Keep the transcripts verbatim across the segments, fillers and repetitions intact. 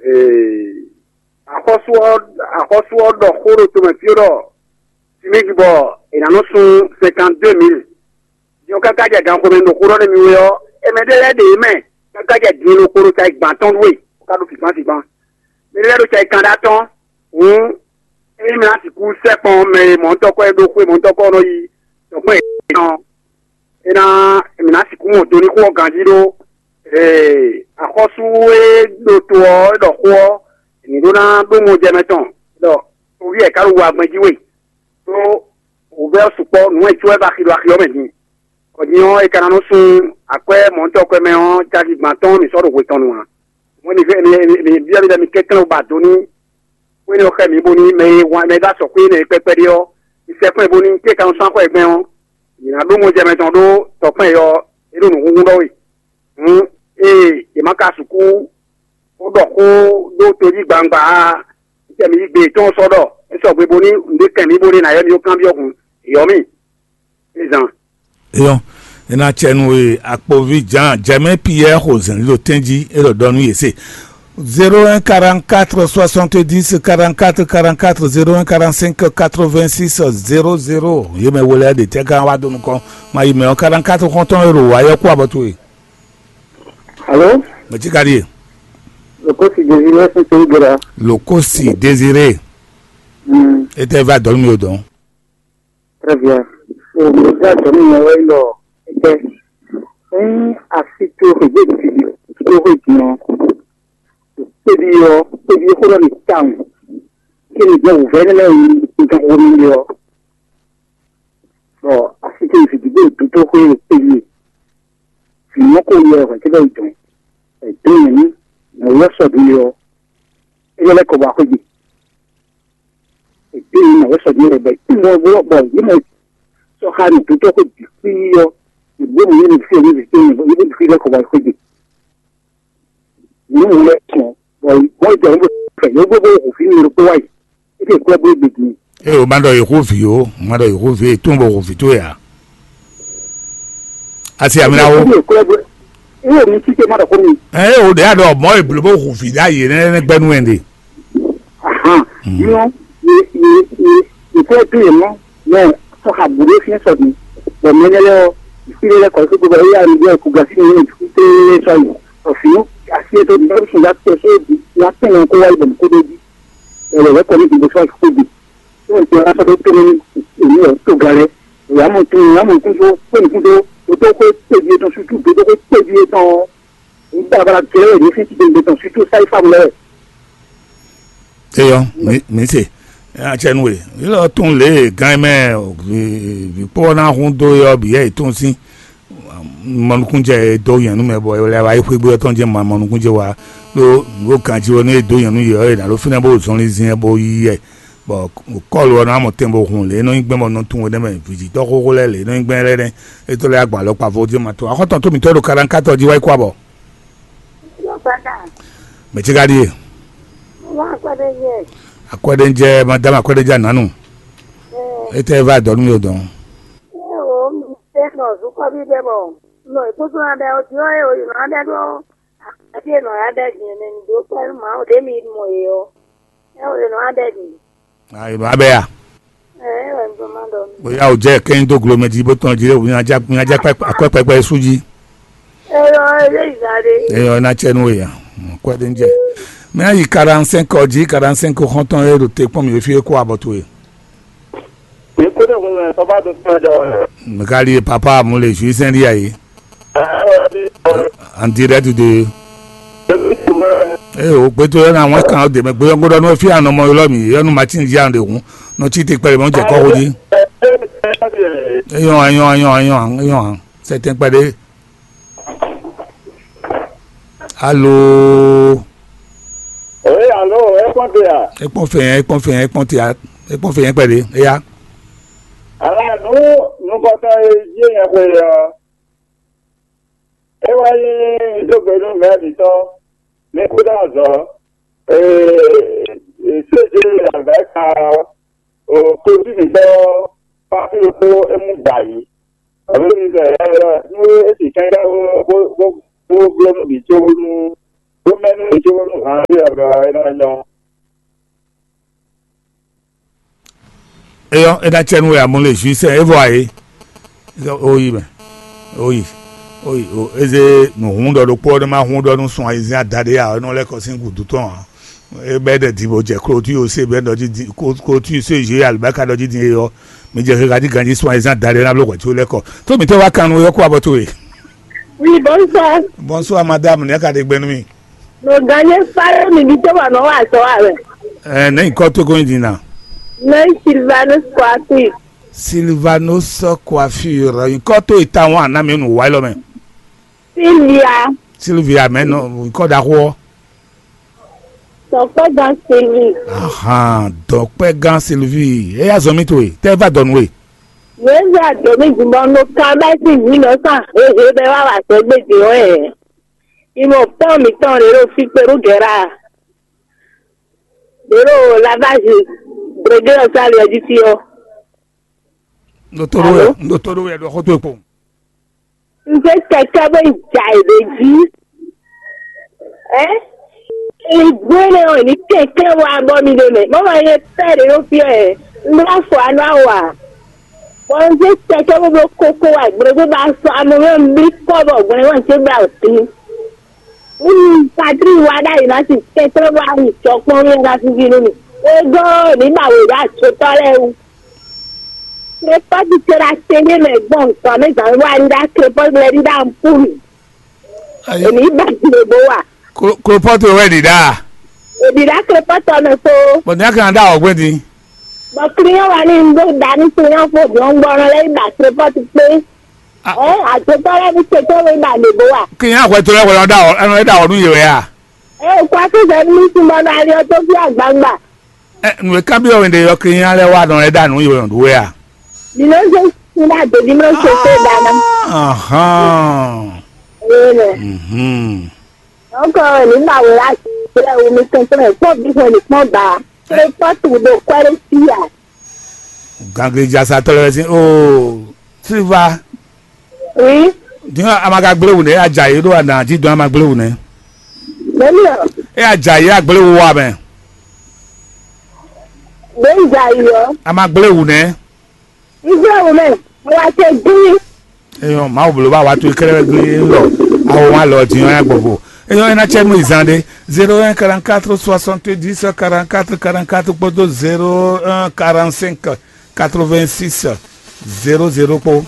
Ee, axɔ́sú ɔ́, axɔ́sú ɔ́ ɖɔ xó ɖo tomɛ fí ɖɔ fimígi bɔ è nǎ nɔ sun cinquante-deux mille. Din ɔ́ káká jɛ ganxomɛ ɖo xó ɖɔ nú mì wɛ ɔ́, é mɛ ɖé lɛ́ɛ ɖe yě mɛ káká jɛ din ɖokpó ɖo cayi gban tɔn ɖu é, bó ka ɖo fǐfán fǐfán. Mɛ ɖé lɛ́ɛ ɖo cayi kanɖá tɔn, hǔn ényí mɛ ná sixú sɛkpɔn mɛ e mɔ̌huntɔ́kɔ́ e ɖó xwé mɔ̌huntɔ́kɔ́ ɔ́ nɔ yi dɔ̌nkpɛ́ yětɔn ɔ́, é ná mǐ ná sixú mɔ do ní xó ɔ́ ganjí ɖó. Ee, axɔ́sú e ɖo to ɔ́ e ɖɔ xó ɔ́, mǐ ɖó ná ɖó mɔjɛmɛ tɔn ɖɔ toví wɛ ka ɖo wa gbɛn jí we, ɖó wǔvɛ́ ɔ́ sukpɔ́ nǔ e có wɛ va xi ɖo axi ɔ́ mɛ din. Bɔ din ɔ́, è ka ná nɔ sun akwɛ́ mɔ̌huntɔ́kwɛ́ mɛ ɔ́ caki gban tɔn mǐ sɔ́ ɖo hwe tɔn nu ǎ. Mɔ̌ mi mi mi byɔ́ mi ɖɔ mi kɛnklɛ́n ba do nú xwé énɛ́ ɔ́ xɛ mǐ bónú mɛ e wan mɛ e ɖó azɔ̌ xwé énɛ́ e kpɛ́kpɛ́ ɖe ɔ́, mi sɛkpɛ́n bónú cé ka nɔ sɔ́ axɔ́ e gbɛn ɔ́, mǐ ná ɖó mɔjɛmɛ tɔn ɖó tɔkpɛn yɔ é ɖo nǔhúnhún ɖɔ we. Hǔn ée yě ma ka sixú bó ɖɔ xó ɖó tojí gbangba ǎ, tɛ mi yí gbe yětɔn sɔ́ ɖɔ é sɔgbe bónú nǔɖé kɛn mǐ bónú è nǎ ylɔ́ mì dó kanbyɔ́ hǔn, è ylɔ́ mì. Zan. Eyɔn, ena cɛnu e akpovi Jean Jɛmɛ Piyɛ xo zɛ̌n ɖo tɛ́njí é ɖɔ ɖɔ nú yě se. Zéro un quarante-quatre soixante-dix quarante-quatre quarante-quatre, zéro un quarante-cinq quatre-vingt-six zéro zéro. Yě mɛ wele ɖe tɛ gán wá dó nukɔn. Ma yi mɛ ɔ́ quarante-quatre xɔntɔn e ɖo wǎ yɔ kú abɔ towe. Alo? Mɛ ci ka ɖíe? Lokosi Désiré fún torí gbéra. Lokosi Désiré. Mm. Etɛ va dɔn mi o dɔn. Très bien. So, mo dá dɔn mi wɛ lɔ. Etɛ. Ní asi tó xwé gbé ti tó xwé gbé ɔ́, kpébi ɔ́, kpébi xó lɔ ní tawun. Kí ni jẹ́ wǔvɛ́ nínú ẹ̀yìn nǹkan wo ní ɔ́? Bɔ asi tó ìfìdígbò dúdú xwé kpébi. Fìmọ́ kó yɛ ọ̀hún tí bẹ́ẹ̀ dùn. Ẹ̀dùn yẹn ní, nà wọ́ sọ̀dún yọ. É yẹ lẹ́kọ̀ọ́ bá xwé gbé. Èdè yìí mọ̀ wẹ́ sɔ̀dí rẹ̀ bẹ́ẹ̀ tí wọ́n gbọ́ bọ̀ yìí mọ̀ sọ́ha ní dúdú kó di kpí yọ. Ìgbó mi yìí ní fi èmi fi yìí ní fi lẹ́kọ̀ọ́ wá ìkójì. Yìí mú lẹ́ tún bọ̀ wọ́n jẹ́ wọ́n fẹ̀ yóò gbogbo òfin mi ló kó wáyé. É lè kó ẹgbẹ́ gbèdì. E o ma ɖɔ yehovi o, ma ɖɔ yehovi e tún bɔ hovi tó ya. Asi amina wo. Èmi ò kúrẹ́ bó. Èmi ò ní títí má dọ̀ fún mi. Ẹ o ɖe aɖɔ mɔ eblo bó hu vi ɖe ayi nɛ nɛ gbɛnu ɛn de. Ahan. Yɔ ye ye ye ye kúrẹ́ tó yẹ mọ́. Mɛ sɔ ha bu ɖé fiɛ sɔ di. Bɔ mɛ nɛ lɛ ɔ. Ìfi lɛ kɔ sí gbogbo ɛyà mi bɛ kú gasi mi ní títí sɔ yi. Ɔfi asi ètò ìdílé sùn ya tẹ sóò di. Ya tẹ nà kó wáyé bọ̀ kó dé di. Ẹ̀rọ rẹ̀ kọ́ ní ìdìbò sọ àkókò di. Tí wọ́n ti wá sọ pé tó ní èmi ọ̀ tó ga rẹ̀. Ìyá mọ̀ tún ìyá mọ̀ tún tó pé nìkún tó tó tó pé péjì tán ṣútú tó tó pé péjì tán. Nígbà bára gẹ́rẹ́ ní fífi gbèǹde tán ṣútú sáì fáwọn lẹ́rẹ̀. Eyɔ, mi mi se. Atsɛnue, ilɔ tún lé gan mɛ, vi kpɔ na hun do yɔ bi yɛ tún sin. Mɔnukúnjɛ e dó nyɛ̌nu mɛ bɔ è lɛ́ wá yi xwé gbé ɔ́ tɔn jɛ́n ma mɔnukúnjɛ wá ɖó nǔ ganjí wɛ nú e dó nyɛ̌nu yě ɔ́, è nǎ ɖó fínɛ́ bó zɔnlin zin ɛ bó yí yɛ. Bɔ kɔ́lu ɔ́ ná mɔ tɛn bó hun lě e nɔ nyí gbɛn bɔ nɔ tunwun énɛ́ mɛ vǐjítɔ́ xóxó lɛ́ɛ lě e nɔ nyí gbɛn lɛ́ɛ nɛ́. É tó lɛ́ agba lɔ kpa vo jɛ́n ma tó. Axɔ́tɔn tó mǐtɔn ɖo kaɖankátɔ jí wá yi kú abɔ. Mɛ ce ka ɖíe? Akwɛɖéjɛ. Akwɛɖéjɛ, madame Akwɛɖéjɛ Ananu. Ɛ, Etɛ va dɔn nú mi o dɔn. Ɛ o, mi tɛ nɔ zukɔbi ɖe bɔ nɔ ìkúsú na ɖe o, diɔ e o yìnbọn na ɖe ɖó akpɛtí e nɔ ya ɖe din ne mi dó kpɛ nú Mawu ɖe mi mɔ yě ɔ. Ɛ o yìnbọn na ɖe din. Ayi ma bɛ ya. Ɛ ɛ wɛ mi ma ɖɔ mi. Bóyá o jẹ kẹ́yìn tó gulomɛ jí bó tán jí lé o, mi ná já mi ná já pẹ́ akwẹ́ pẹ́pẹ́ sú jí. Ɛ yɔ ɛ yé ìgbà ɖe. Eyɔ ná tsɛ nú ya. Kwɛ ɖe ń jɛ. Mɛ ayi quarante-cinq ɔ jí, quarante-cinq xɔntɔn e ɖo te kpɔn mi fi e kó abɔ towe. Ekúnlẹ̀ wẹ̀wẹ̀ tó bá dún fún ẹjọ́ rẹ̀. Mikali papa mu le ju sɛn di ayi. En direct de. Ee, o gbɛtɔ yɛ na wọn kan o dɛmɛ gbɛ yɔngo dɔ n'o fi anɔ mɔ yɔlɔ mi yɔnu ma ti di an de hun n'o ti te kpɛlɛ mɔ jɛ kɔ ko di. Eyɔn eyɔn eyɔn eyɔn eyɔn sɛtɛn kpɛɖe. Alo. Ee, alo, e kpɔn te ya? E kpɔn fɛ yɛn, e kpɔn fɛ yɛn, e kpɔn te ya, e kpɔn fɛ yɛn kpɛɖe, eya. Ala nu nukɔtɔ e yé yẹn xwe ɔ, e wá yí dógbe nú mɛ mǐtɔn, mi kú dá azɔ, ee, séje alɛ̌ka, o kojú mǐtɔn, pápí kó é mú gbà yìí. Ɔ̀rẹ́ mi bẹ̀ ɛ nú é sì kẹ́kẹ́ bó bó bó bló nú mǐ có nú Ɖó mɛnu cóbónú hǎn ɔ́ ɖo aɖɔ ɔ́ é ná nyɔ́. Eyɔ́, é ná cɛ nú we amú le jǔisɛ é vɔ ayé. Ó yi mɛ. Ó yi. Ó yi. Ó, é zé nǔhún ɖɔ ɖokpó ɔ́, nú má hún ɖɔ nú sun ayizɛ́n adaɖé ǎ, é nɔ lɛ́ kɔ sín gǔdo tɔn ǎ. É bɛ́ ɖɛ din bó jɛ klotú yó sé bɛ́ ɖɔ jí din, klo-, klotú yó sé zhě alibáka ɖɔ jí din é ɔ́, mi jɛ xexa jí ganjí sun ayizɛ́n adaɖé ná bló hwɛ̌ có lɛ́ kɔ. Tó mǐtɔn wá kan nú é ɔ́ kó abɔ towe. Oui, bonsoir. Bonsoir madame, nɛ̌ ka ɖe gbɛ nú mi? Ɖo gannú fáyé mi ɖi tó bɔ nɔ wa azɔ̌ wa wɛ. Ɛ, nɛ̌ nyǐkɔ towe ko nyí din ná? Nɛ̌ Silvanus Kwasi. Silvanus Coiffure, nyǐkɔ towe tawun a nǎ mì nǔ wa élɔ́ mɛ? Silvia. Silvia mɛ nɔ nyǐkɔ ɖaxó ɔ́. Dɔkpɛgán Silvi. Ahan, dɔkpɛgán Silvi. É yá zɔn mì towe, tɛ é va dɔnu we. Yě zɛ adǒ mì din bɔ un ɖo kan bɛ́ sín vǐ nɔ sán hehe bɛ́ wá wa sɛgbéjé ɔ́ ɛ. Ìmọ̀ pɔ́n mǐtɔn ɖě ɖo fí kpé ɖó gɛ̌ra. Ɖě ɖo lavázi Brégé ɔ́ sá ali ɔ́ jí fí ɔ́. Un ɖo tó ɖó wɛ, Alo? Un ɖo tó ɖó wɛ ɖɔ xó towe kpowun. Un zé kɛkɛ́ bó yi ja yě ɖ'é jí. Ɛ? Ìgbó énɛ́ ɔ́, ní kɛnklɛ́n wá bɔ mi ɖe mɛ. Mɔ̌ ma nyɛ pɛ́ ɖě ɖo fí ɔ́ ɛ. Un bló afɔ anú awa. Bɔ un zé kɛkɛ́ bó bló kókó wá gblé bó ba sɔ́ amɔ mɛ un blí kɔ́ bɔ gblé wá un zé blá wǔ tín. Un Patrík wá ɖ'ayǐ ná sin kɛnklɛ́n bó wá yi jɔ kpɔ́n mì ná fífí nú mì. Wegɔ́ ɔ́, ní ba wě ɖo acotɔ́ lɛ́ɛ wú. Krepɔ́ti ce ɖo atɛn ɖé mɛ gbɔn nǔkpamɛ zǎn wá ɖíɖá krepɔ́ti lɛ́ɛ ɖíɖá ampúli. Ayi. Èmi ba le bó wa. Klo-, klopɔ́ti wɛ ɖi ɖa. Èmi ɖá krepɔ́ti ɔ́ mɛ kpó. Bɔn ní a kan ɖá ɔgbɛn din. Bɔ client wa ní ɖó da ní client fo gbɔngbɔn lɛ yi ba krepɔ́ti kpé. Ah. Ɛ àtúntò lɛ ní tètè wé ba le bó wa. Kí n yá hwɛ tó lɛ hwɛ lɔ ɖá ɔ, ɛnɔ ɖá ɔ nú yè wɛ a? Ɛ o kɔ akí zɛ ní sún bɔ nɔ ali ɔ tó fi agbangba. Ɛ, nǔ e kanbyɔ́ we ɖe ɔ́, kí n yá lɛ wá nɔ lɛ ɖá nǔ yè wɛ nɔ ɖú wɛ a? Dino se sin da do dino se se da na. Ahán. Ee nɛ. Mhm. Ɔkɔ ní ma wò la kple wò mi kɛntɛn kpɔ́ bí hwɛ ní kpɔ́ ba. Kple kpɔ́ tu ɖo kwɛ́ ɖé sí a. Ganglijasatɔ́ lɛ́ɛ sín oo, Silva. Oui. Din a ma ka gblé wǔ nɛ́, a jɛ ayǐ ɖó ana jí dɔn a ma gblé wǔ nɛ́. Bẹ́ẹ̀ni o. E a jɛ ayǐ a gblé wú wa mɛ. Bẹ́ẹ̀ ń jà yìí o. A ma gblé wǔ nɛ́. Israel mɛ, mo wá ṣe dín. Eyɔn, Mawu bló bá wa tó kɛlɛ gbé lɔ. Awo wa lɔ din ya gbogbo. Eyɔn, ena cɛ mu izan de. Zéro un quarante-quatre soixante-dix quarante-quatre quarante-quatre kpódó zéro un quarante-cinq quatre-vingt-six zéro zéro kpó.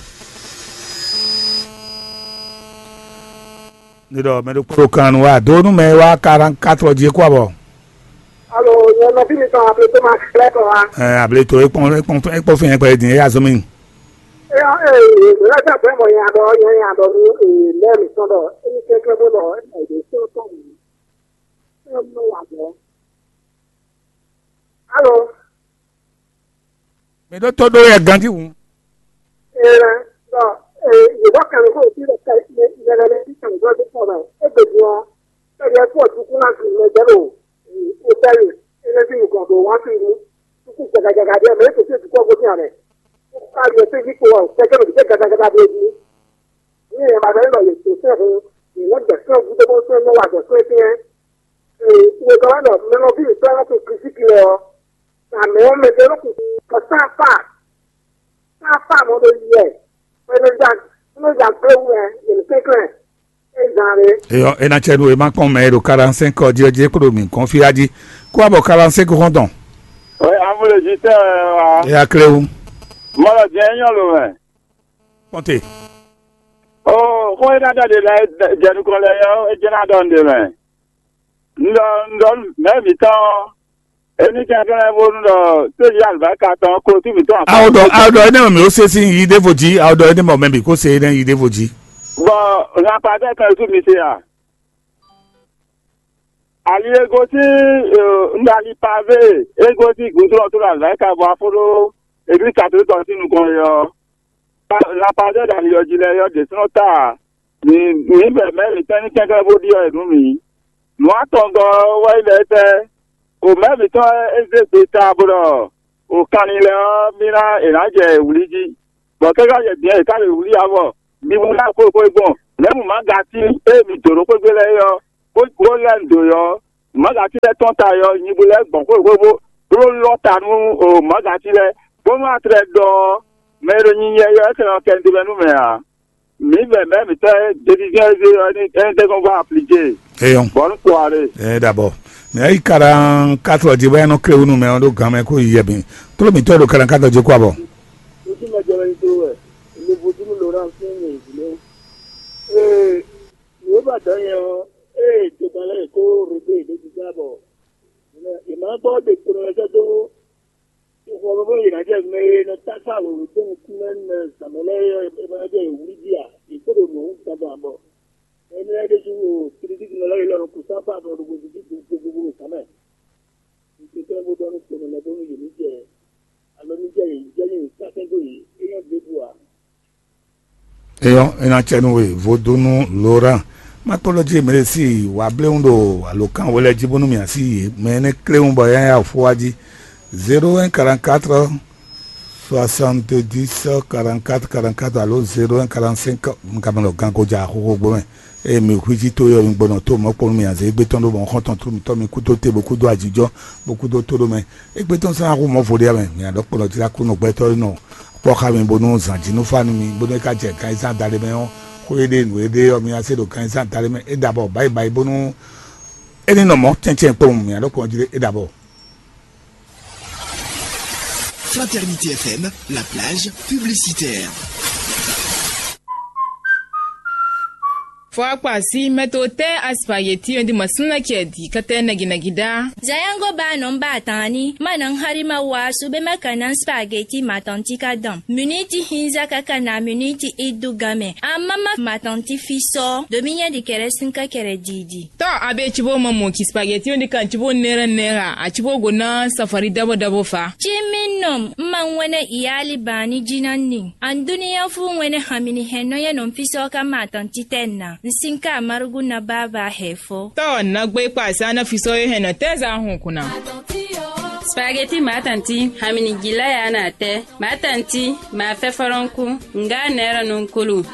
Ní ɖɔ mɛ ɖokpó ɖo kan nu wá dó nú mɛ e wá quarante-quatre jí é kú abɔ. Alo, nyɛ nɔví mitɔn Ableto ma xlɛ́ kɔ wá. Ɛ, Ableto, é kpɔn, é kpɔn, é kpɔn fɛn kpɛ din, é azɔn mi. Ɛ, ɛ, lɛ́sẹ̀ bɛ́ mɔ nya ɖɔ, nya nya ɖɔ nú, ɛ, lɛ́ mǐtɔn ɖɔ, é ní kɛ́kɛ́ bó ɖɔ, ɛ, ɛ, yě sɔ́ tɔn mǐ. Ɛ, mɔ wà bɔ. Alo. Mi ɖó tó ɖó yɛ ganjí hǔn. Ɛɛ, bɔ, ɛɛ, Yehowa kan xó tí ɖe ka yɛ lɛ lɛ tí kan gbɔ dé kɔ mɛ. Égbe din ɔ́, kɛɖɛ kú ɔtúnkún ná sin mɛ jɛ ɖo wotɛli énɛ́ sín nukɔn ɖo wá sin nu. Tukú jagajaga ɖé mɛ é kò sí ètùkú ɔ́ gosín amɛ. Ó ká yɔ sí yí kpo ɔ́, kɛkɛ ɖo dìde gadagbada ɖé jí. Ní ɛ ma ɖɔ é lɔ yě tó sɛ́ hun, yě nɔ gbɛ sɛ́ gúdo bó sɛ́ nɔ wa gbɛ sɛ́ tɛ́n. Ee, wegɔ́ wá ɖɔ mɛ nɔ fí mǐtɔn lɛ́ɛ to Klísu lɛ ɔ́, amɛ ɔ́ mɛ ɖé nɔ kun kɔ sán afa, sán afa mɔ ɖo yi wɛ, bɔ é nɔ ja, é nɔ ja kplé wú wɛ, yě nɔ kɛnklɛ́n, é zán ɖé. Eyɔ, é ná cɛ nú e má kpɔn mɛ e ɖo quarante-cinq ɔ́ jí ɔ́ jí é kpo ɖo mǐ gɔ́n fí á jí. Kó wá bɔ quarante-cinq xɔ́ntɔn. Ɔ́, amúlejítɛ́ wɛ wá. É yá klé wú. Mɔlɔ jɛ nyɔ́ lo mɛ. Kpɔ́nte. Oo, xó e ná ɖɔ ɖe lɛ́ɛ jɛ nukɔn lɛ́ɛ ɔ́, é jɛ ná ɖɔ nǔɖé mɛ. Un ɖɔ, un ɖɔ mɛ̌ mǐtɔn ɔ́, é ní kɛnklɛ́n bónú ɖɔ tójí alibáka tɔn ko tí mǐtɔn. Awo ɖɔ, awo ɖɔ énɛ́ mɛ mǐ ó se sín yi ɖěvo jí, awo ɖɔ énɛ́ mɛ mɛ bǐ kó se énɛ́ yi ɖěvo jí. Bɔ ŋakpa dɛ́ kan sú mi se a? Ali e gosín, un ɖo ali pavé e gosín gǔdo ɔ́ tó ɖo alibáka bɔ afó ɖó eglísi katolíki ɔ́ sín nukɔn é ɔ́. Lapadɛ́ ɖo ali ɔ́ jí lɛ́ɛ ɔ́ ɖě sɔ́ ta ǎ. Mǐ mǐ bɛ mɛ̌ mǐtɔn ní kɛnklɛ́n bó ɖyɔ́ yě nú mǐ. Nǔ atɔngɔ́ ɔ́ wɛ nyí ɖɔ étɛ́? Xomɛ mǐtɔn e zé gbe ta bó ɖɔ o kanlin lɛ́ɛ ɔ́, mì ná è nǎ jɛ wlǐ jí, bɔ kɛ́ ká jɛ dǐn ɔ́, è ká ɖo wlǐ ǎ bɔ mi wú ná xwé xwé gbɔn. Nɛ̌ mǔ ma ga tín ée mǐ dǒ ɖó xwé gbe lɛ́ɛ é ɔ́, bó bó lɛ́ nǔ dó ɔ́, mǎgatín lɛ́ɛ tɔ́n ta ɔ́, nyibu lɛ́ɛ gbɔn xwéxwé bó bó lɔ́ ta nú mǎgatín lɛ́ɛ, bónú a tlɛ ɖɔ ɔ́, mɛ e ɖo nyinyɛ ɔ́, é tlɛ nɔ kɛ nú mɛ ǎ. Mǐ vɛ mɛ̌ mǐtɔn e décision e zé ɔ́, é ní é ní tɛ́nkpɔ́n vɔ aplíjé. Eyɔn. Bɔ̌ nú kpo ǎ ɖe. Ɛ ɖabɔ. Mɛ ayi kaɖan katlɔ jí bɔ é nɔ klé wú nú mɛ ɔ́ ɖó gan mɛ kó yi yɛ bǐ. Tló mǐtɔn e ɖo kaɖan katlɔ jí kó abɔ. Ojú mɛ jɛ wɛ nyí tó wɛ. Èmi vodúnú Laurent sín ní ìdílé. Ee, nǔ e ba dɔ̌ nyɛ ɔ́, ee, togán lɛ́ɛ kó Rodé ɖo jijá bɔ è ma gbɔ ɖe kplɔn lɛ́ɛ sɛ́ dó xɔ bó yě ná jɛ mɛ e nɔ táká wěwé dó nukún lɛ́ɛ mɛ zǎn mɛ lɛ́ɛ é, é ma jɛ yě wlí jí a? Yě kó ɖo nǔ ɔ́ wú dandan bɔ énɛ́ lɛ́ɛ ɖésú o Filizíki nɔ lɛ́ɛ élɔ́ nɔ kú sáfá nɔ ɖo gbeví gbogbogbò zǎn mɛ. Nǔtɛ́tɛ́ bó ɖɔ nú kponɔ lɛ́ɛ bónú yě ní jɛ alɔ ní jɛ yě jɛ ní yě ká sɛ́n dó yě, é nyɔ́ ɖěbǔ ǎ. Eyɔn, é ná cɛ nú we vodúnú Laurent. Má kpɔ́ ɖɔ jí mɛ ɖé sí wǎ bléwún ɖo alǒkan we lɛ́ɛ jí bónú mì así yě mɛ énɛ́ kléwún bɔ yá yá fó wá jí. Zéro un quarante quatre soixante dix quarante quatre quarante quatre alo zéro un quarante cinq. Nkamɛ lɔ gan ko ja xoxo gbó mɛ. Eye mi hu jí tó yɔ mi gbɔnɔ tó mɔ̌ kpɔ́n nú mi azě égbé tɔn ɖó mɔ̌ xɔ́ntɔn tó mitɔ́ mi kúdó te bó kúdó ajijɔ bó kúdó tó ɖó mɛ. Égbé tɔn sɔ́ ná hu mɔ̌ vo ɖé mɛ mi aɖɔ kplɔ́ jí lá kú nɔ gbɛtɔ́ nɔ kpɔ́ xá mi bónú zǎn jí nú fá nú mi bónú é ká jɛ ganzán dali mɛ ɔ́, xó e ɖe nǔ e ɖe ɔ́ mi ná se ɖo ganzán dali mɛ é ɖabɔ báyi báyi bónú é ní nɔ mɔ̌ tɛ́ntin kpɔ́n mi aɖɔ kplɔ́ jí é ɖabɔ. Fraternité F M, la plage publicitaire. Fɔ akpa sí mɛto tɛ aspageti ɔ́ di masúnà kɛ di kɛtɛ nɛgɛnɛgɛ dá. Zayango ba nɔ ba tani ma nɔ hari ma wa su be ma kana spageti matanti ka dam. Miniti hinza kaka na miniti idu game. Amama matanti fisɔ dominya di kɛrɛ sinka kɛrɛ didi. Tɔ abe cibo mɔmɔ ki spageti ɔ́ ɖi kan cibo nɛrɛ nɛra a cibo go ná safari dabo dabo fa. Ci mi nɔ ma ŋwɛnɛ iyali bani jina ni. An duniya fu ŋwɛnɛ hamini hɛn nɔ yɛ nɔ fisɔ ka ma tɔn titɛ na. N sin ka marugu na baba hɛ fɔ. Tɔ na gbe kpa sa na fisɔ ye hɛn nɔ tɛ za hun kuna. Spageti ma tanti hamini jila ya na tɛ. Ma tanti ma fɛ fɔlɔnku. Nga nɛrɛ nunkulu.